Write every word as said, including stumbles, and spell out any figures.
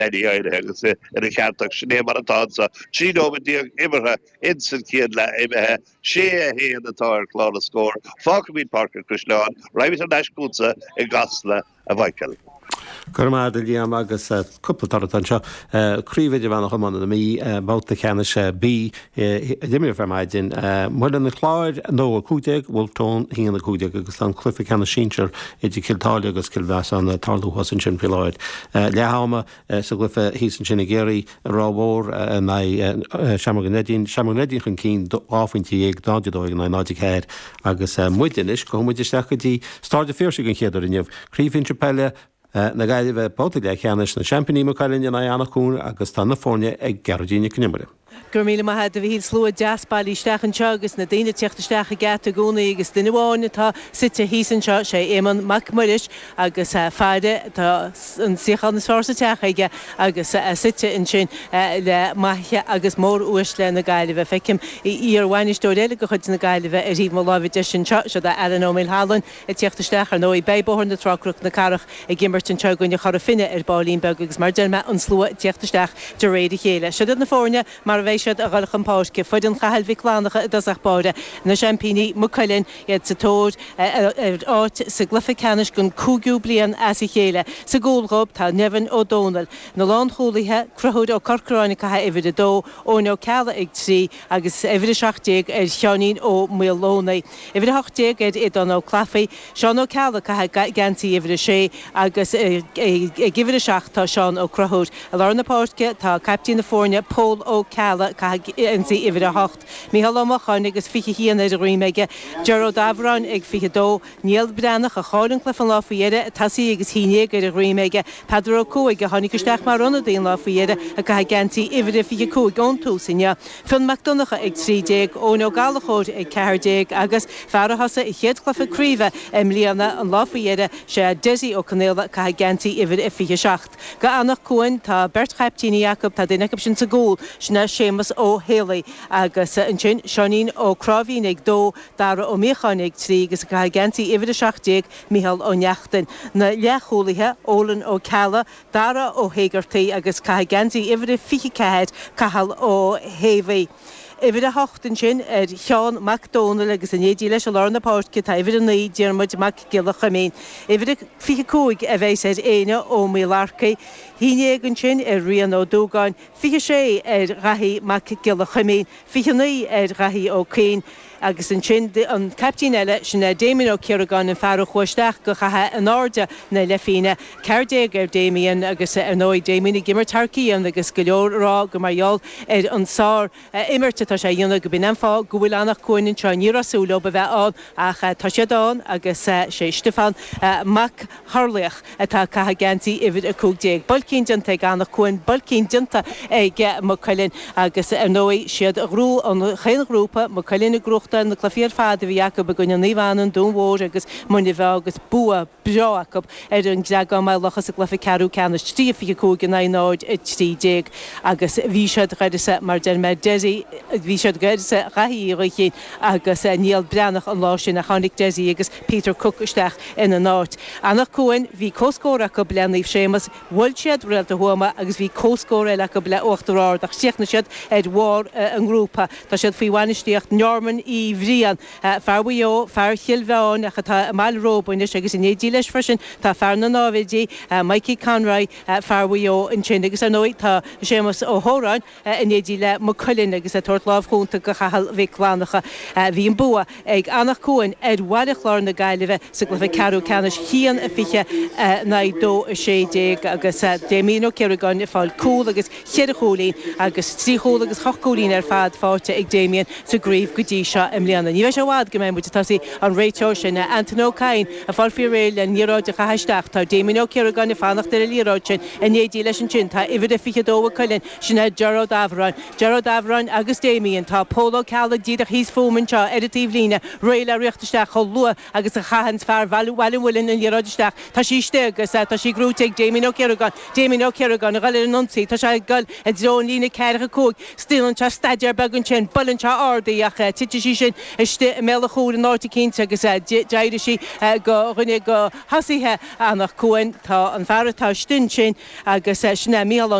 Danny áirithe agus ina cheart ach sin é mar atá sa trí nóiméad déag imeartha insan chéad leath imithe sé a haon atá ar chlár na scór fágfaimid Páirc an Chaisleáin raghaimid ar ais chugatsa i gCasla a Mhichael. Go raibh maith agat Liam agus cúpla toradh anseo Craobh Idirmheánach Iomána na Mí babhta ceannais B d'imir ar maidin Muileann an Chláir dó a cúig déag Wolfe Tone haon a cúig déag agus tá an cluiche ceannais sinsir idir Cill Táile agus Cill Mheasáin ag tarlú thuas ansin faoi láthair. Leath ama sa gcluiche thíos ansin i gCiarraí Ráth Mhór in aghaidh Seamróg an Neidín Seamróg an Neidín chun cinn dhá phointe dhéag náid a dó in aghaidh náid a ceathair agus muid anois gabhfaidh muid isteach go dtí Staid an Phiarsaigh an chéad uair inniu. Craobh Shinsir Peile na Gaillimhe babhta leathcheannais na seaimpíní Maigh Cuilinn in aghaidh Anach Cuain agus tá na foirne ag Gearóidín Nic an Iomaire. Gur míle maith a bhí slua deas bailithe isteach anseo agus na daoine ag teacht isteach ag geata i gcónaí agus duine amháin atá suite thíos anseo sé Éamonn Mac Muiris agus faire tá an suíochán is fearr sa teach aige agus suite ansin le maithe agus móruaisle na Gaillimhe. Feicim iar-bhainisteoir eile de chuid na Gaillimhe ar thaobh mo láimhe deise anseo seo Alan Ó Maolshealain ag teacht isteach ar ndóigh beidh Bóthar na Trá Cnoc na Cathrach ag imirt anseo i gcoinne Chora Finne ar baillín beag agus mar deir mé an slua ag teacht isteach de réir a chéile. Seo na foirne mar a bheidh siad a dhul chun páirce foireann Chathail Mhic Fhlannchadha i dtosach báire na seaimpíní Maigh Cuilinn iad sa tóir ar áit sa gcluiche ceannais don cúigiú bliain as a chéile. Sa gcúl dóibh tá Nevin Ó Dónaill. Na lánchúlaithe Conchúr Ó Corcoráin ag caitheamh uimhir a dó, Eoin Ó Ceallaigh ag trí agus uimhir a seacht déag ar Sheáinín Ó Maolónaigh. Uimhir a hocht déag ar Aodán Ó Clafaí, Seán Ó Ceallaigh ag caitheamh geansaí uimhir a sé agus ag uimhir a seacht tá Seán Ó Conchúir. I lár na páirce tá caiptín na foirne Pól Ó Ceallaigh ag caitheamh geansaí uimhir a hocht. Micheál Ó Mocháin agus fiche haon ar a dhroim aige, Ger Ó Dabhráin ag fiche dó, Niall Breathnach a chaill an cluiche an lá faoi dheireadh, tosaí agus haon déag ar a dhroim aige, Peadar Ó Cuaig a tháinig isteach mar ionadaí an lá faoi dheireadh ag caitheamh geansaí uimhir a fiche cúig ón tús inniu. Fionn Mac Donncha ag trí déag, Eoin Ó Gallchóir ag ceathair déag agus fear a thosaigh a chéad chluiche craoibhe i mbliana an lá faoi dheireadh sé Dessie Ó Conaola ag caitheamh geansaí uimhir a fiche seacht. Go Anach Cuain tá beirt chaiptíní acu tá duine acu sin sa gcúl sin é Séamus Ó Héalaí agus ansin Seáinín Ó Cráimhín ag dó Dara Ó Míocháin ag trí agus ag caitheamh geansaí uimhir a seacht déag Micheál Ó Neachtain. Na leathchúlaithe Ólan Ó Ceallaigh, Dara Ó hÉigeartaigh agus caitheamh geansaí uimhir a fiche ceathair Cathal Ó hÉamhaí. Uimhir a hocht ansin ar Sheán Mac Dónaill agus in éindí leis i lár na páirce tá uimhir a naoi Diarmuid Mac Giolla Chuimín. Uimhir a fiche cúig a bheas ar Éanna Ó Maoilearcaigh, haon déag ansin ar Rian Ó Dúgáin, fiche sé ar Dhaithí Mac Giolla Chuimín, fiche naoi ar Dhaithí Ó Cuinn, agus ansin an caiptín eile sin é Damien Ó Ciaragáin an fear a chuaigh isteach go chatha in airde na leithphingne, ceathair déag ar Damien agus ar ndóigh Damien ag imirt thar cionn agus go leor rá go mar gheall ar an sár imirt atá sé a dhéanamh go b'in an fáth go bhfuil Anach Cuain anseo ní raibh súil leo a bheith ann ach tá siad ann agus sé Stiofán Mac Tharlaoch atá ag caitheamh geansaí uimhir a cúig déag. Builcín déanta ag Anach Cuain, builcín déanta ag Maigh Cuilinn agus ar ndóigh siad a ghnóthaigh an chaon ghrúpa, Maigh Cuilinn ag gnóthachtáil na cluichí ar fad a bhí acu i gcoinne Naomh Anna, an Dún Mhór agus Muine Mheá agus bua breá acu ar an gCreagán Maigh Locha sa gcluiche ceathrú ceannais trí a fiche cúig in aghaidh náid a trí déag agus bhí siad d'uireasa mar deir mé Dessie bhí siad d'uireasa Dhaithí Uí Ghaoithín agus Niall Breathnach an lá sin a tháinig Dessie agus Peter Cooke isteach ina n-áit. Anach Cuain bhí comhscór acu le Naomh Séamus, bhuail siad Réalta Thuama agus bhí comhscór eile acu le Uachtar Ard ach chríochnaigh siad ar bharr an ngrúpa. Tá siad faoi bhainistíocht Norman Uí Bhriain, fear Mhaigh Eo, fear Chill Mheáin ach atá i mBaile Róba anois agus in éindí leis freisin tá fear na náimhidí Mikey Conroy, fear Mhaigh Eo ansin agus ar ndóigh tá Séamus Ó hÓráin in éindí le Maigh Cuilinn agus ag tabhairt lámh chúnta go Chathal Mhic Fhlannchadha. Bhí an bua ag Anach Cuain ar Bhaile Chláir na Gaillimhe sa gcluiche ceathrú ceannais haon a fiche in aghaidh dó a sé déag agus Damien Ó Ciaragáin ag fáil cúl agus cheithre chúilín agus trí chúl agus ocht gcúilín ar fad faighte ag Damien sa gcraobh go dtí seo i mbliana. Ní bheidh sé i bhfad go mbeidh muid ag tosaí an réiteoir sin Anton Ó Cadhain ag fáil faoi réir le liathróid a chaitheamh isteach. Tá Damien Ó Ciaragáin ag fanacht ar an liathróid sin in éindí leis ansin tá uimhir a fiche dó ag Cuilinn sin é Ger Ó Dabhráin. Ger Ó Dabhráin agus Damien tá Pól Ó Ceallaigh díreach thíos fúm anseo ar an taobhlíne réidh le rith isteach chomh luath agus a chaitheann fear Bhaile an Mhuilinn an liathróid isteach. Tá sí istigh agus tá sí gnóthaithe ag Damien Ó Ciaragáin. Damien Ó Ciaragáin ag dul ar an ionsaí tá sé ag dul i dtreo an líne ceathracha cúig. Déanann sé staidéar beag ansin, buaileann sé ard í ach titeann sí sin istigh i mbéal an chúil in áit eicínt agus d'éirigh sí go dhuine de thosaithe Anach Cuain. Tá an fear atá istigh ansin agus sin é Mícheál